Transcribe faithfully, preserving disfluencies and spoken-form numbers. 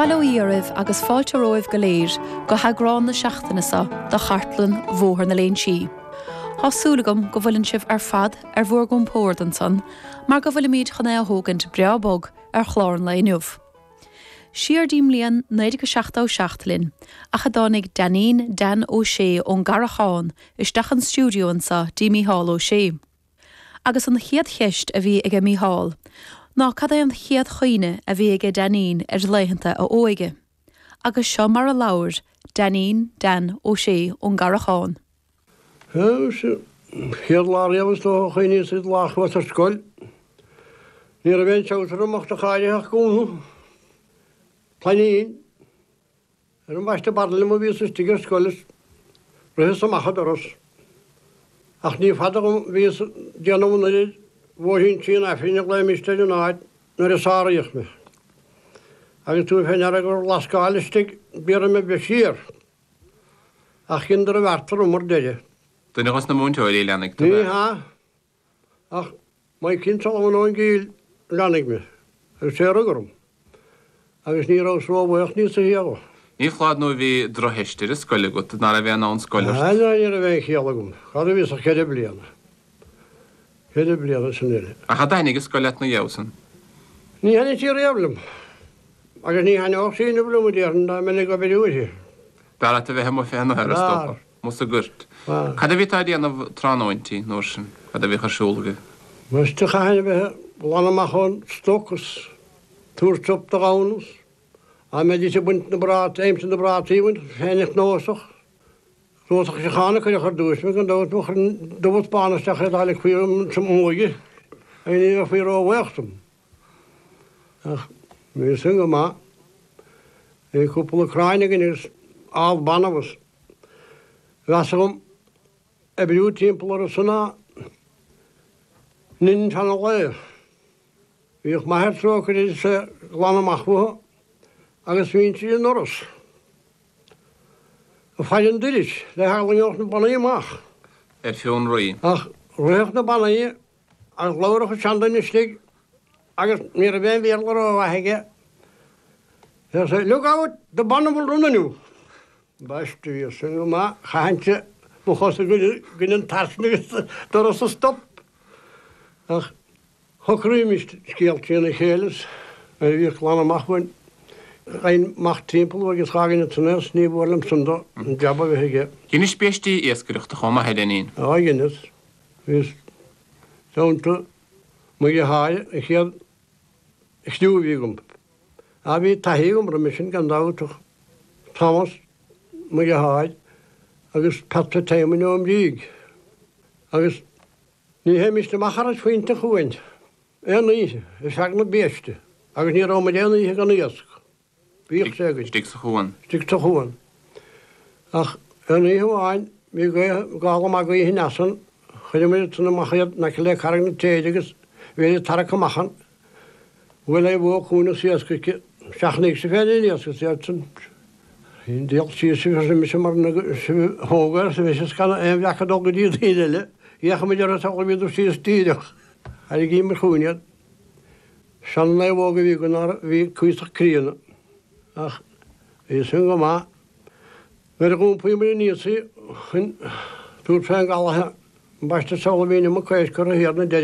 Bail ó Dhia oraibh agus fáilte romhaibh go léir go heagrán na seachtaine seo de chartlann Bhóthar na Léinsí. Tá súil agam go bhfuileann sibh ar fad ar bhur gcompord ansan, mar go bhfuilimid chun é a thógaint breá bog ar chlár an lae inniu. Siar dtí mbliain naoi déag seachtó seacht linn, ach a dtáinig Dainín Dan Ó Sé ón gCarrachán isteach an stiúideo anseo dtí Mícheál Ó Sé. Agus an chéad cheist a bhí aige Mícheál, ná cad é an chéad chuimhne a bhí aige Dainín ar laethanta a óige. Agus seo mar a labhair Dainín Dan Ó Sé ón gCarrachán. Chéad lá riamh is dócha a chuimhníos an lá a chuas ar scoil. Ní raibh aon seabhtar amach do cháirithe gúna. Plainín ar an bhaiste barla a bhíos istigh ar scoil is ritheas amach an doras. Ach ní fada dhom bhíos déanamh an oiread bhóithrín Tí an Aifrinn a ghlaoimist ar an áit nuair a sáraíodh mé. Agus tú féin ar gur lascáil istigh b'iarraidh mé bheith siar. Ach dheineadar a bheart orm ar deireadh. Duine dos na múinteoirí leanaigh tú Ní hea ach Maidhcín Sullivan ón gCill leanaigh mé agus sé a rug orm. Agus ní rabhas róbhuíoch níos a hiarraidh. Ní foláir nó bhí drochtheist ar an scoil agat ná raibh aon ann scoil ort. Ah, ní raibh aon chiall agam. Cad a bhíos ach ceithre bliana. Ceithre bliana sin uile. Ach cad a thaitnigh an scoil leat ina dhiaidh san? Ní thaitnigh sí riamh liom. Agus ní thaitneodh sí inniu liom a déarfainn dá mbeinn ag obair uaithi. B'fhearr leat a bheith amuigh fé na B'fhearr. is dócha, sa ghort. B'fhearr. Cad a bhí tú ag déanamh tráthnóintí an uair sin? Cad a bhíodh ar siúl agaibh? Ambaiste chaithfinn a bheith ag glanadh amach ón stoc is tabhairt sop do ghamhna is dá mbeidís ag baint na bprátaí, aimsir na bprátaí a bhaint, féin ag cnósach. Cnósach seacháin a cuireadh ar dtús mé gan dabht mo chuir dubh is bán isteach é dá ligfí sa mbuaidh agus ní bheifí róbhuíoch dom. Ach bhí sin go maith. Bhí cúpla crainn againn agus ál banbh is mheas agam oibriú timpeall orthu san ná nin seana lae. Bhíodh m'athair trócaire is é glanadh amach uathu agus bhínnse i ndoras. Ag faire an dorais le heagla go ngeobhadh na bannaí amach. Ar fionraí. Ach ritheadh na bannaí agus labhradh an seanduine istigh agus ní raibh aon Bhéarla rómhaith aige. Deir sé, Look out, the banna will run on you. Ambaiste bhí sin go maith, chaithfinnse mo chos i gcoinne an tarsna agus doras a stop. Ach shocraímis scéal trína chéile is nuair a bhíodh glanadh amach uainn, gheibhinn amach timpeall agus dh'fhágainn ansan é is ní mhór liom san do an jab a bheith aige. Dheinis biaistí iascaireachta chomh maith a Dainín. Á dheineas. Bhíos teannta mo dheartháir an chéad chriú a bhí agam. Á bhí taithí agam roimhe sin gan dabht ach Thomas mo dheartháir agus Pat Éamoinn Ó Mbríg. Agus ní théimist amach thar phointe an chuain aon oíche ar feadh na biaiste agus ní raibh muid aon oíche gan iasc. Bhíodh sé againn. Istigh sa chuan. Istigh sa chuan. Ach aon oíche amháin bhí gaoth gála maith gaoithe aneas ann, chuireamar san amach iad in aice le Carraig na Téide agus bhí iad tarrac amach ann. Bhuail aon bhó chugainn is iasc aici. Seachnaíodh sibh féin an iasc is iad san. Díol síos sibh arsa mise mar sibh a thóg arsa mise is gan aon bhreac ag dul go dtí daoine eile. D'fhéach muid orthu is amhlaidh bhíodar síos díreach. Tharraingíomar chugainn iad. Sean-naomhóg a bhí againn ná bhí cuíosach críonna. Ach bhí sin go maith. Nuair a dh'iompaíomar aníos í chun tabhairt fén gcaladh ambaiste is amhlaidh bhí an iomarca éisc curtha thiar na deireadh.